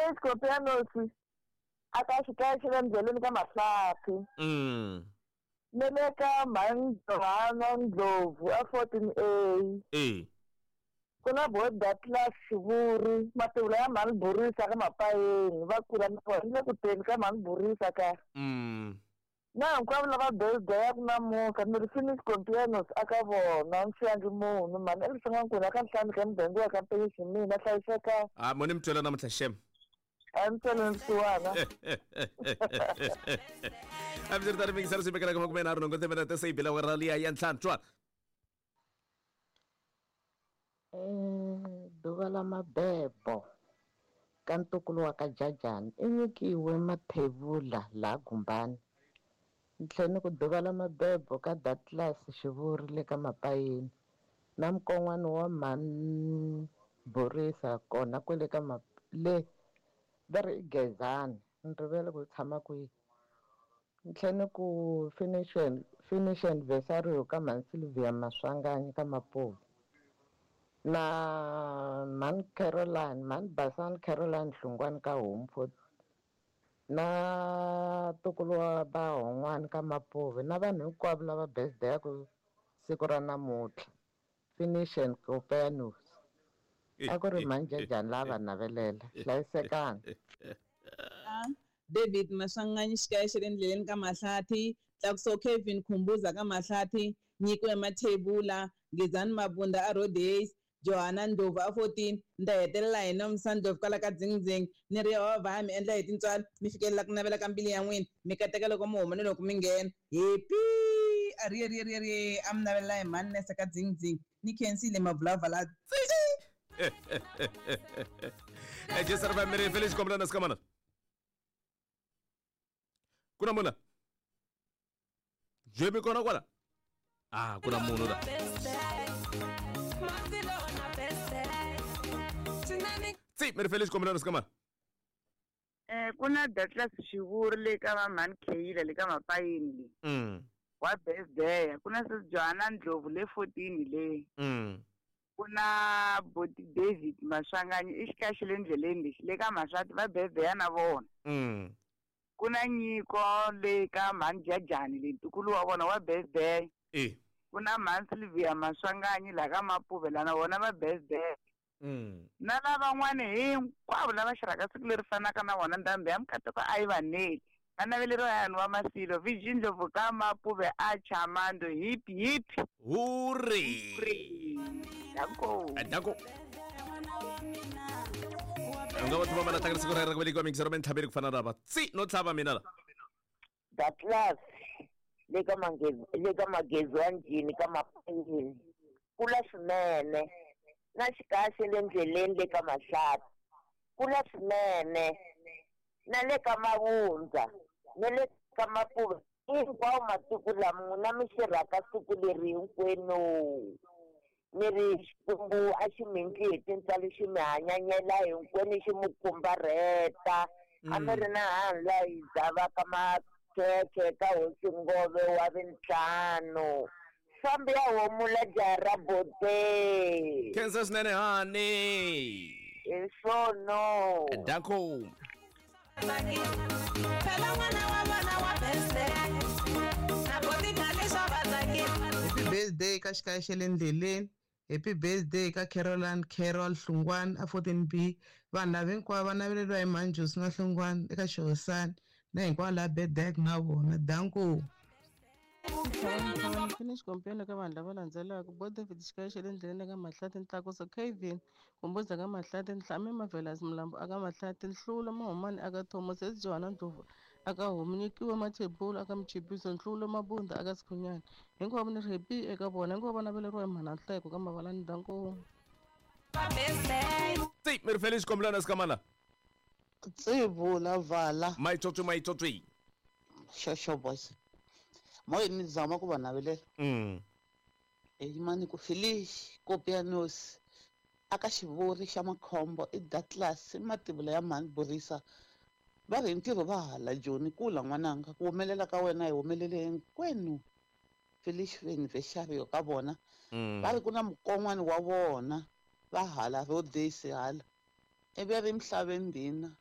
Felix Kopianosi a ka xikaya xa le ndleleni ka Mahlathi. Ni le ka mhani Johana Ndlovu a 14A. E. Ku na bo Datlas Xivuri, mativula ya mhani Burisa ka Mapayeni, va kula na vona ni le ku teni ka mhani Burisa ka. Na hinkwavo lava birthday-aku namuntlha ni ri Felix Kopianos a ka vona, ni siyangi munhu, mhani Elisa N'wankuna ka nhlanu ka muganga wa ka Mpenyi mina hlayiseka. Ah, mo ni mi twela namuntlha xem. A ni tweleni vusiwana. A mi ri tani mingisela swi vekela ka 38 timinete se yi bile awara liya ya ntlhanu twa. Ḓuvha ḽa mabebo ka ntukulu wa ka Jajani i nyikiwe mathevula laha Gumbani. Ni tlhela ni ku ḓuvha ḽa mabebo ka Datlas Xivuri le ka Mapayeni na mukon'wana wa mhani Borisa kona kwele ka le va ri i Gezani ni rivele ku u tshama kwihi. Ni tlhela ni ku finish finish anniversary ka mhani Sylvia Maswanganyi ka Mapuve na mhani Caroline mhani Basani Caroline Hlungwani ka Homu na ntukulu wa Bahon'wani ka Mapuve na vanhu hinkwavo lava birthday-aku siku ra namuntlha finish and Copernicus a ku ri mhani Jajani la a va navelela hlayisekani. David Maswanganyi xikaya xa le ndleleni ka Mahlathi, Tlakuso Kevin Khumbuza ka Mahlathi, Nyiko ya Mathebula, Gezani Mabunda a Rhodes, Johana Ndlovu a 14, ni ta hetelela hi Nomsa Ndlovu kwala ka Dzingdzing, ni ri Yehovha a mi endla hi tintswalo mi fikelela ku navela ka mbilu ya n'wina, mi kateka loko mi huma ni loko mi nghena. Happy a ri ri ri ri a mi navelela hi mhani Nese ka Dzingdzing. Ni khensile mavulavala. Jesu ri va Felix Kombelana sikamana. Ku na munhu la? Jemi kona kwala? Ah, ku na munhu la. Tsi, mi ri Felix Kombelana sikamana. Ku na Datlas Xivuri le ka va mhani Kheyila le ka Mapayeni le. Wa birthday ku na sis Johanna Ndlovu le 14 le. Ku na Boti David Maswanganyi i xikaya xa le ndleleni lexi le ka Mahlati va birthday na vona. Ku na Nyiko le ka mhani Jajani le ntukulu wa vona wa birthday. Ku na mhani Sylvia Maswanganyi la ka Mapuve la na vona va birthday. Na lavan'wani hinkwavo lava xirhaka siku leri fanaka na vona ndhambi ya mikateko a yi va neli. Va naveleriwa hi wa Masilo, Viji Ndlovu ka Mapuve a Chamando, hip hip. Hurray! Danko. Danko. U nga va tiva mana tlangela siku ra ra ku velekiwa mingisero mintlhaveri ku fana na lava tsi no tlhava mina la. The class le ka mangezi le ka magezi wa njhini ka Mapayeni kula swinene na xikaya xa le ndleleni le ka Mahlathi kula swinene na le ka Mavundza na le ka Mapuve hinkwawo masiku lama n'wina mi xirhaka siku leri hinkwenu ni ri Xikwembu a xi mi endli hi tintswalo xi mi hanyanyela hinkwenu xi mi khumbarheta a mi ri na hanhu laha hi dzavaka makhekhe ka hosi Ngove wa vintlhanu fambi ya homula jaha ra bote. Khensa swinene hani. Hi swono. Danko. Happy birthday ka xikaya xa le ndleleni. Happy birthday ka Caroline Carol Hlungwani a 14B. Vanhu lava hinkwavo va naveleriwa hi Manjusi na Hlungwani eka Xihosani na hinkwavo lava birthday na vona. Danko. Finish kompeni ka vanhu lava landzelaka bo David xikaya xa le ndleleni ka Mahlathi Ntlakuso Kevin Kumbuza ka Mahlathi Nhlame Mavelas Mlambo aka Mahlathi Nhlulo Mahumani aka Thomas S Johana Ndlovu aka Homu Nyikiwe Mathebula aka Mchibiso Nhlulo Mabunda aka Sikhunyana hinkwavo ni ri happy eka vona hinkwavo va naveleriwa hi mhana Nhleko ka Mavalani Danko. Tsi mi ri Felix Kombelana sikamana. Tsivula vala. Maitsotsi maitsotsi. Shosho boys. Moya ni zama ku va navelela. Yimani ku Felix Kopianos aka xivuri xa makhombo i Datlas i mativula ya mhani Borisa va ri hi ntirho va hala Joni kula n'wananga ku humelela ka wena hi humelele hinkwenu Felix anniversary ka vona va ri ku na mukon'wana wa vona va hala Rhodes hala ivi ri misaveni ndhina.